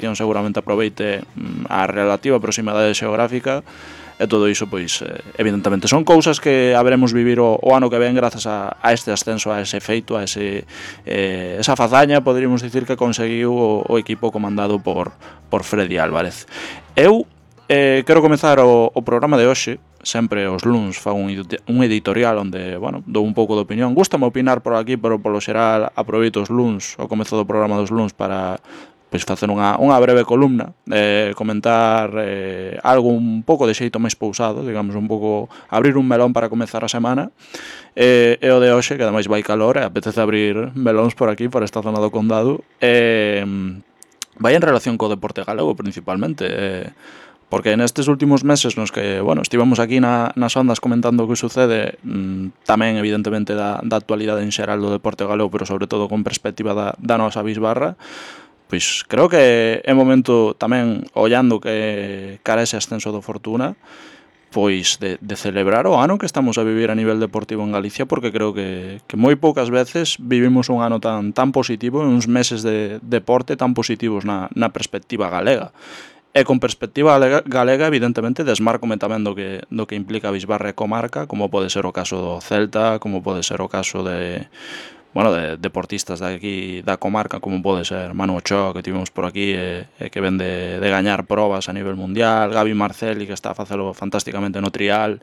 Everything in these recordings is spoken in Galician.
federación seguramente aproveite a relativa proximidade xeográfica, e todo iso, pois, evidentemente, son cousas que haberemos vivir o ano que ven grazas a este ascenso, a ese feito, a esa fazaña, poderíamos dicir, que conseguiu o equipo comandado por Freddy Álvarez. Eu quero comezar o programa de hoxe. Sempre os luns fago un editorial onde, bueno, dou un pouco de opinión. Gústame opinar por aquí, pero polo xeral aproveito os luns, o comezo do programa dos luns, para pois facer unha breve columna, comentar algo un pouco de xeito máis pousado, digamos, un pouco abrir un melón para comezar a semana, e o de hoxe, que ademais vai calor, e apetece abrir melóns por aquí, por esta zona do condado, vai en relación co deporte galego principalmente, porque nestes últimos meses nos que, bueno, estivemos aquí nas ondas comentando o que sucede, tamén evidentemente da actualidade en xeral do deporte galego, pero sobre todo con perspectiva da nosa bisbarra, pois creo que é momento tamén, ollando que cara ese ascenso do Fortuna, pois de celebrar o ano que estamos a vivir a nivel deportivo en Galicia, porque creo que moi poucas veces vivimos un ano tan positivo, uns meses de deporte tan positivos na perspectiva galega. E con perspectiva galega, evidentemente, desmárcome tamén do que implica a bisbarra e comarca, como pode ser o caso do Celta, como pode ser o caso de deportistas de aquí da comarca, como pode ser Manu Ochoa, que tivemos por aquí, que ven de gañar probas a nivel mundial, Gabi Marcelli, que está a facelo fantásticamente no trial,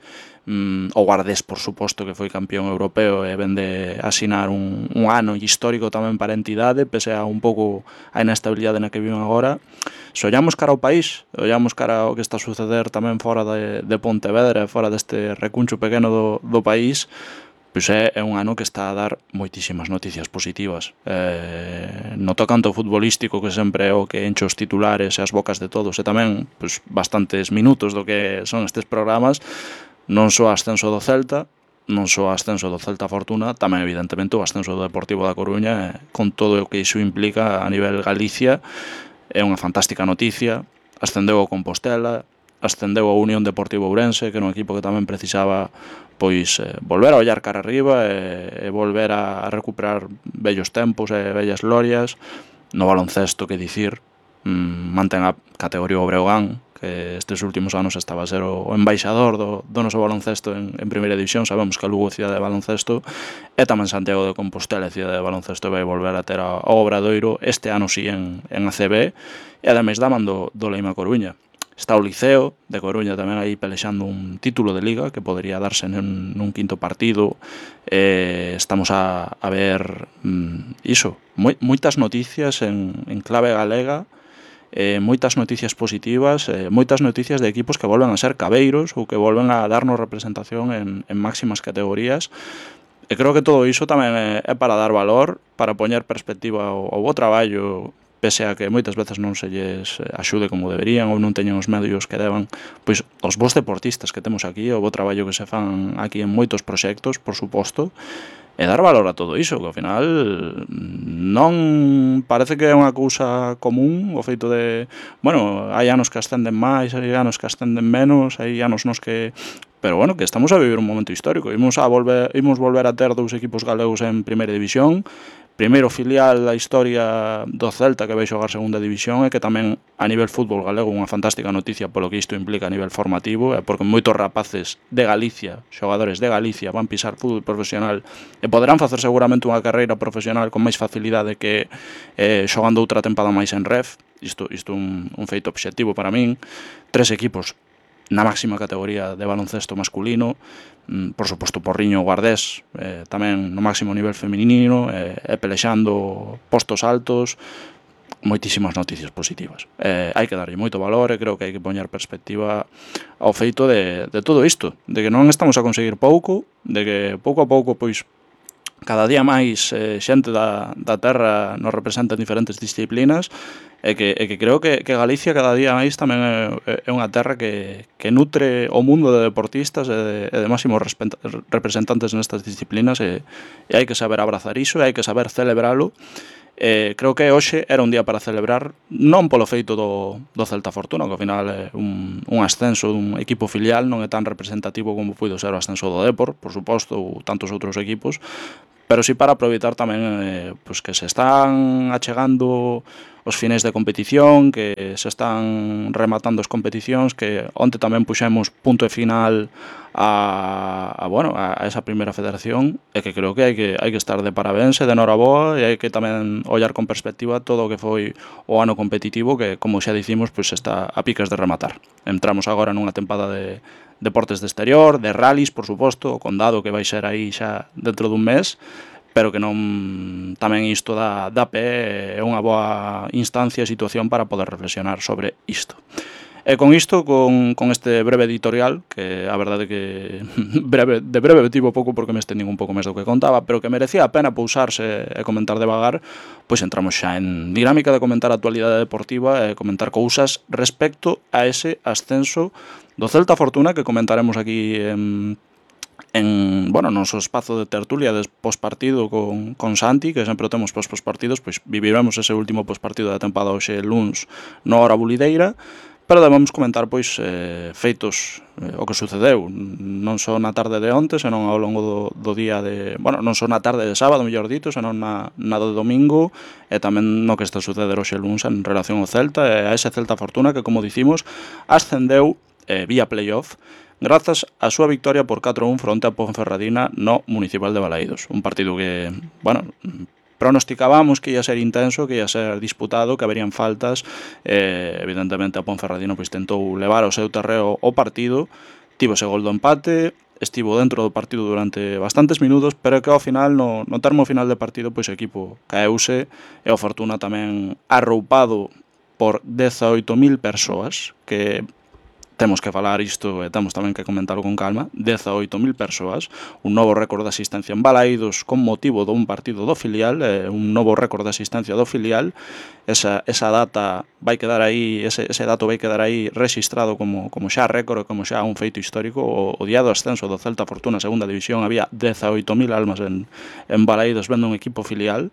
o Guardés, por suposto, que foi campeón europeo e ven de asinar un ano histórico tamén para a entidade, pese a un pouco a inestabilidade na que viven agora. Se ollamos cara ao país, ollamos cara ao que está a suceder tamén fora de Pontevedra, fora deste recuncho pequeno do país, pois é un ano que está a dar moitísimas noticias positivas. No tocanto futbolístico, que sempre é o que enche os titulares e as bocas de todos, e tamén pois, bastantes minutos do que son estes programas, non só o ascenso do Celta, non só o ascenso do Celta Fortuna, tamén evidentemente o ascenso do Deportivo da Coruña, con todo o que iso implica a nivel Galicia. É unha fantástica noticia. Ascendeu o Compostela, ascendeu a Unión Deportivo Ourense, que era un equipo que tamén precisaba pois volver a ollar cara arriba e volver a recuperar vellos tempos e vellas glorias. No baloncesto, que dicir, mantén a categoría o Breogán, que estes últimos anos estaba a ser o embaixador do noso baloncesto en primeira división. Sabemos que a Lugo é cidade de baloncesto, e tamén Santiago de Compostela é cidade de baloncesto, vai volver a ter ao Obradoiro este ano si en ACB, e ademais da man do Leima Coruña. Está o Liceo de Coruña tamén aí pelexando un título de liga que podría darse nun quinto partido. Estamos a ver iso, moitas noticias en clave galega, moitas noticias positivas, moitas noticias de equipos que volven a ser cabeiros ou que volven a darnos representación en máximas categorías. E creo que todo iso tamén é para dar valor, para poñer perspectiva ao bo traballo, pese a que moitas veces non se lles axude como deberían ou non teñen os medios que deban, pois os bons deportistas que temos aquí, o bo traballo que se fan aquí en moitos proxectos, por suposto, e dar valor a todo iso, que ao final non parece que é unha cousa común o feito de, bueno, hai anos que ascenden máis, hai anos que ascenden menos, hai anos nos que... Pero bueno, que estamos a vivir un momento histórico. Imos volver a ter dous equipos galegos en primeira división, primeiro filial da historia do Celta que vai xogar segunda división, e que tamén a nivel fútbol galego unha fantástica noticia polo que isto implica a nivel formativo, porque moitos rapaces de Galicia, xogadores de Galicia, van pisar fútbol profesional e poderán facer seguramente unha carreira profesional con máis facilidade que xogando outra tempada máis en ref. Isto é un feito obxectivo para min. 3 equipos na máxima categoría de baloncesto masculino, por suposto Porriño, Guardés, tamén no máximo nivel feminino, pelexando postos altos, moitísimas noticias positivas. Hai que darlle moito valor, e creo que hai que poñer perspectiva ao feito de todo isto, de que non estamos a conseguir pouco, de que pouco a pouco pois cada día máis xente da terra nos representa en diferentes disciplinas, e que creo que Galicia cada día máis tamén é unha terra que nutre o mundo de deportistas e de máximos representantes nestas disciplinas, e hai que saber abrazar iso, e hai que saber celebralo. Creo que hoxe era un día para celebrar, non polo feito do Celta Fortuna, que ao final é un ascenso dun equipo filial, non é tan representativo como puido ser o ascenso do Depor, por suposto, ou tantos outros equipos, pero sí para aproveitar tamén pois que se están achegando os finais de competición, que se están rematando as competicións, que onte tamén puxemos punto e final a esa primeira federación, e que creo que hai que estar de parabéns e de noraboa, e hai que tamén ollar con perspectiva todo o que foi o ano competitivo, que, como xa dicimos, pois está a piques de rematar. Entramos agora nunha tempada de deportes de exterior, de rallies, por suposto, o Condado, que vai ser aí xa dentro dun mes, pero que non tamén isto dá pé, é unha boa instancia e situación para poder reflexionar sobre isto. E con isto, con este breve editorial, que a verdade que de breve tivo pouco porque me estendín un pouco máis do que contaba, pero que merecía a pena pousarse e comentar devagar, pois entramos xa en dinámica de comentar a actualidade deportiva e comentar cousas respecto a ese ascenso do Celta Fortuna, que comentaremos aquí no noso espazo de tertulia de pospartido con Santi, que sempre o temos pospartidos, pois viviremos ese último pospartido da tempada hoxe luns no hora bulideira, pero debemos comentar pois feitos o que sucedeu non só na tarde de onte, senón ao longo do día non só na tarde de sábado, mellor dito, senón na do domingo, e tamén no que está a suceder hoxe luns en relación ao Celta e a ese Celta Fortuna que, como dicimos, ascendeu vía playoff grazas á súa victoria por 4-1 fronte a Ponferradina no Municipal de Balaídos. Un partido que, pronosticábamos que ia ser intenso, que ia ser disputado, que haberían faltas. Evidentemente a Ponferradina pois tentou levar ao seu terreo o partido, tivo ese gol do empate, estivo dentro do partido durante bastantes minutos, pero que ao final, no termo final de partido, pois o equipo caeuse e o Fortuna tamén arroupado por 18.000 persoas, que temos que falar isto e temos tamén que comentarlo con calma, 18.000 persoas, un novo récord de asistencia en Balaídos con motivo dun partido do filial, un novo récord de asistencia do filial. Esa data vai quedar aí, ese dato vai quedar aí rexistrado como xa récord, como xa un feito histórico. O día do ascenso do Celta Fortuna segunda división había 18.000 almas en Balaídos vendo un equipo filial.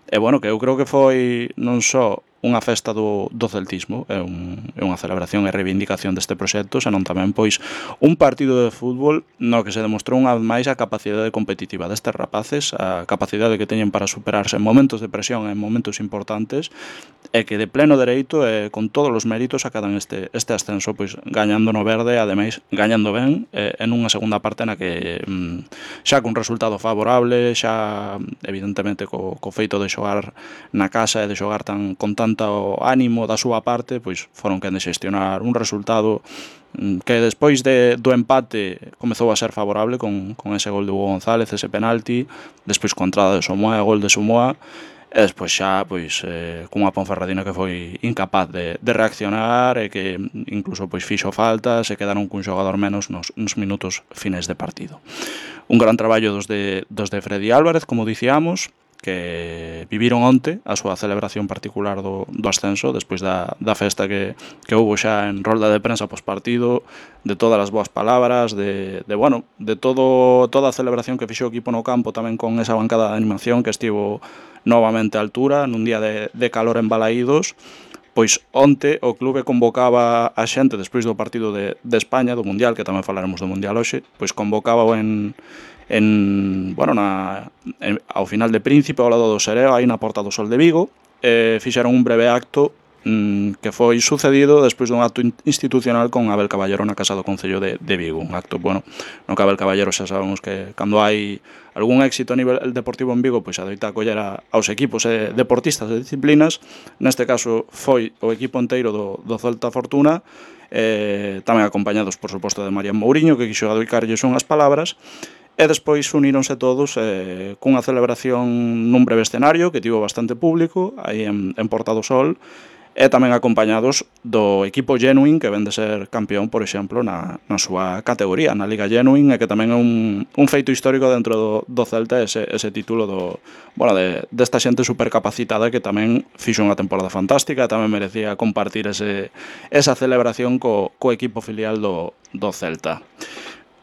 E que eu creo que foi non só unha festa do celtismo, é unha celebración e reivindicación deste proxecto, senón tamén pois un partido de fútbol no que se demostrou unha vez máis a capacidade competitiva destes rapaces, a capacidade que teñen para superarse en momentos de presión, en momentos importantes, e que de pleno dereito e con todos os méritos acadan este ascenso, pois gañando no verde, ademais gañando ben, en unha segunda parte na que xa con resultado favorable, xa evidentemente co feito de xogar na casa e de xogar con tanto ánimo da súa parte, pois foron quen de xestionar un resultado que despois do empate comezou a ser favorable con ese gol de Hugo González, ese penalti, despois con entrada de Somoa e gol de Somoa, e despois xa cunha Ponferradina que foi incapaz de reaccionar e que incluso fixo faltas e quedaron cun xogador menos nos minutos finais de partido. Un gran traballo dos de Freddy Álvarez, como dicíamos, que viviron onte a súa celebración particular do ascenso despois da festa que houbo xa en rolda de prensa pospartido, de todas as boas palabras, de toda a celebración que fixo o equipo no campo, tamén con esa bancada de animación que estivo novamente a altura nun día de calor en Balaídos. Pois onte o clube convocaba a xente despois do partido de España, do Mundial, que tamén falaremos do Mundial hoxe, pois convocaba ao final de Príncipe, ao lado do Sereo, aí na Porta do Sol de Vigo, fixeron un breve acto que foi sucedido despois dun acto institucional con Abel Caballero na Casa do Concello de Vigo. Un acto, no que Abel Caballero xa sabemos que cando hai algún éxito a nivel deportivo en Vigo, pois adoita acoller aos equipos deportistas de disciplinas. Neste caso foi o equipo inteiro do Celta Fortuna, tamén acompañados, por suposto, de Marián Mouriño, que quixo adoicarlles unhas palabras. E despois uníronse todos cunha celebración nun breve escenario que tivo bastante público aí en Porta do Sol, e tamén acompañados do equipo Genuine, que ven de ser campeón, por exemplo, na súa categoría, na Liga Genuine, e que tamén é un feito histórico dentro do Celta, ese título desta xente supercapacitada que tamén fixo unha temporada fantástica e tamén merecía compartir esa celebración co equipo filial do Celta.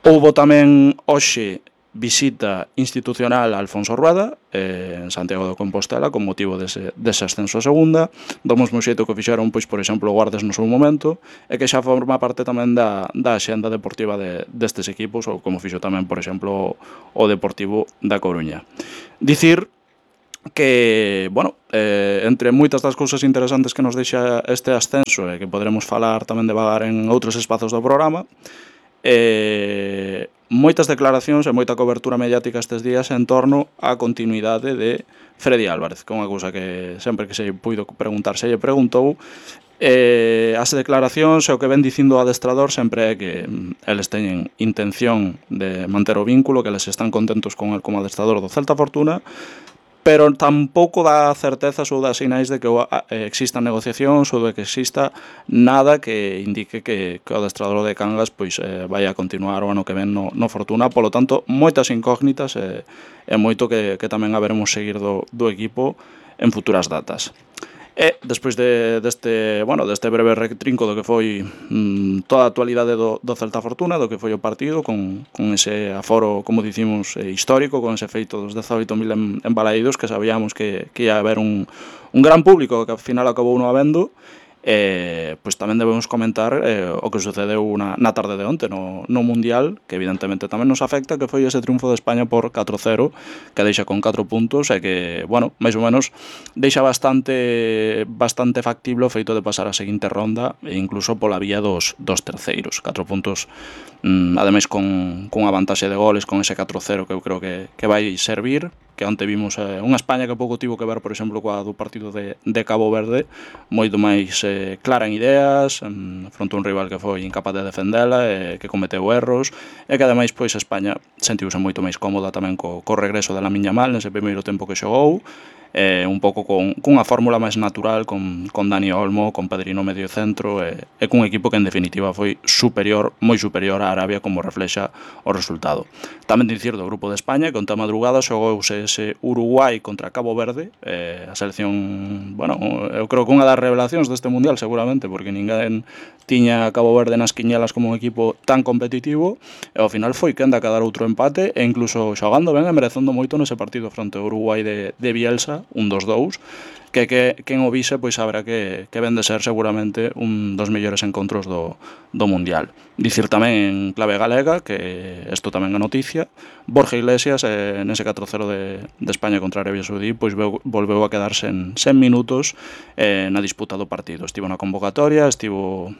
Houbo tamén hoxe visita institucional a Alfonso Rueda en Santiago de Compostela con motivo dese ascenso a segunda, do mesmo xeito que fixeron, por exemplo, o Guardes no seu momento, e que xa forma parte tamén da axenda deportiva destes equipos, ou como fixo tamén, por exemplo, o Deportivo da Coruña. Dicir que, bueno, entre moitas das cousas interesantes que nos deixa este ascenso e que poderemos falar tamén devagar en outros espazos do programa, moitas declaracións e moita cobertura mediática estes días en torno á continuidade de Freddy Álvarez, que é unha cousa que sempre que se puido preguntar se lle preguntou. As declaracións e o que ven dicindo o adestrador sempre é que eles teñen intención de manter o vínculo, que eles están contentos con el como adestrador do Celta Fortuna, pero tampouco dá certezas ou dá sinais de que existan negociacións ou de que exista nada que indique que o adestrador de Cangas pois vai a continuar o ano que ven no Fortuna. Polo tanto, moitas incógnitas e moito que tamén haberemos seguir do equipo en futuras datas. E despois deste breve retrinco do que foi toda a actualidade do Celta Fortuna, do que foi o partido con ese aforo, como dicimos, histórico, con ese feito dos 18.000 en Balaídos, que sabíamos que ia haber un gran público, que ao final acabou non habendo. Pois tamén debemos comentar o que sucedeu na tarde de onte no Mundial, que evidentemente tamén nos afecta, que foi ese triunfo de España por 4-0, que deixa con 4 puntos e que, bueno, máis ou menos deixa bastante factible o feito de pasar a seguinte ronda e incluso pola vía dos terceiros. 4 puntos, ademais con unha vantaxe de goles, con ese 4-0 que eu creo que vai servir, que onte vimos unha España que pouco tivo que ver, por exemplo, coa do partido de Cabo Verde, moito máis clara en ideas, fronte a un rival que foi incapaz de defendela, que cometeu erros, e que ademais pois España sentiuse moito máis cómoda tamén co regreso de Lamine Yamal nese primeiro tempo que xogou, un pouco cunha fórmula máis natural con Dani Olmo, con Pedrino medio centro e cun equipo que en definitiva foi moi superior á Arabia, como reflexa o resultado. Tamén dicir do grupo de España que onte a madrugada xogouse ese Uruguai contra Cabo Verde, a selección, bueno, eu creo que unha das revelacións deste Mundial seguramente, porque ninguén tiña Cabo Verde nas quiñelas como un equipo tan competitivo, e ao final foi quen de acadar outro empate e incluso xogando ben e merecendo moito nese partido fronte ao Uruguai de Bielsa, un 2-2, que quen o vise pois saberá que ven de ser seguramente un dos mellores encontros do Mundial. Dicir tamén en clave galega, que isto tamén é noticia, Borja Iglesias nese 4-0 de España contra Arabia Saudí pois volveu a quedarse en 100 minutos na disputa do partido. Estivo na convocatoria, estivo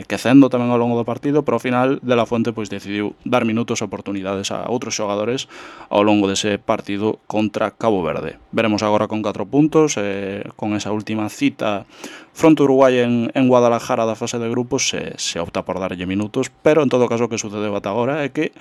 quecendo tamén ao longo do partido, pero ao final De La Fuente pois decidiu dar minutos e oportunidades a outros xogadores ao longo dese partido contra Cabo Verde. Veremos agora con 4 puntos, con esa última cita fronte Uruguai en Guadalajara da fase de grupos, se opta por darlle minutos, pero en todo caso o que sucedeu ata agora é que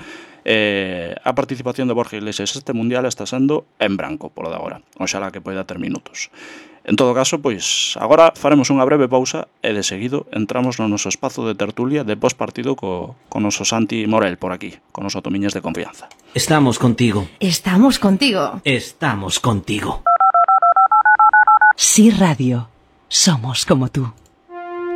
a participación de Borja Iglesias este Mundial está sendo en branco polo de agora. Oxalá que poida ter minutos. En todo caso, pois agora faremos unha breve pausa e de seguido entramos no noso espazo de tertulia de postpartido co noso Santi Morel por aquí, con noso Tomiñas de confianza. Estamos contigo. Estamos contigo. Estamos contigo. Sí Radio. Somos como tú.